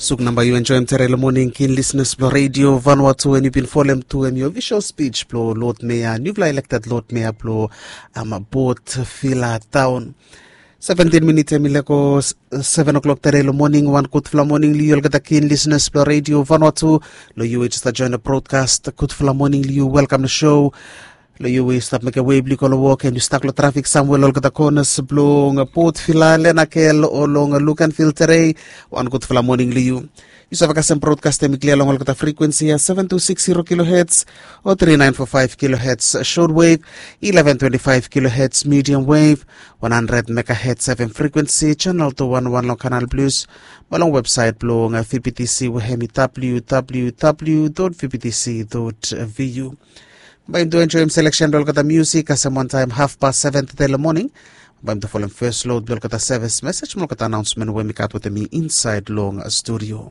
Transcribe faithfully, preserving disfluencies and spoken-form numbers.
Suk namba yu enjoem tere long moning, kin lisenas blong redio Vanuatu, en yu bin folem tu em yo visual spij blong Lord Mayor, niufala elekted Lord Mayor blong Port Vila taon. Seventin minit em i lego seven o'clock tere long moning. Wan gudfala moning long yu olgeta kin lisenas blong redio Vanuatu. Long yu we i jes join long brodkast, gudfala moning long yu, welkam long show. Long yu we yu stap mekem wei blong yu go long wok, en yu stak long trafik samwe long olgeta konas blong Port Vila, Lenakel o long Luganville tere, wan gudfala moning long yu. Yu save kasem brodkast em i klia long olgeta frikwensi ya, seven two six zero kilohertz o three nine four five kilohertz short wave, eleven twenty five kilohertz medium wave, one hundred megahertz F M frikwensi, channel two one one long Canal Plus, mo long website blong V B T C we hem i W W W dot V B T C dot V U. Bae yumi tu enjoem selection blong olgeta musik kasem wantaem haf pas seven tere long moning. Bae yumi tu folem fes lod blong olgeta sevis mesej mo olgeta anaonsmen we mi gat wetem mi insaed long studio.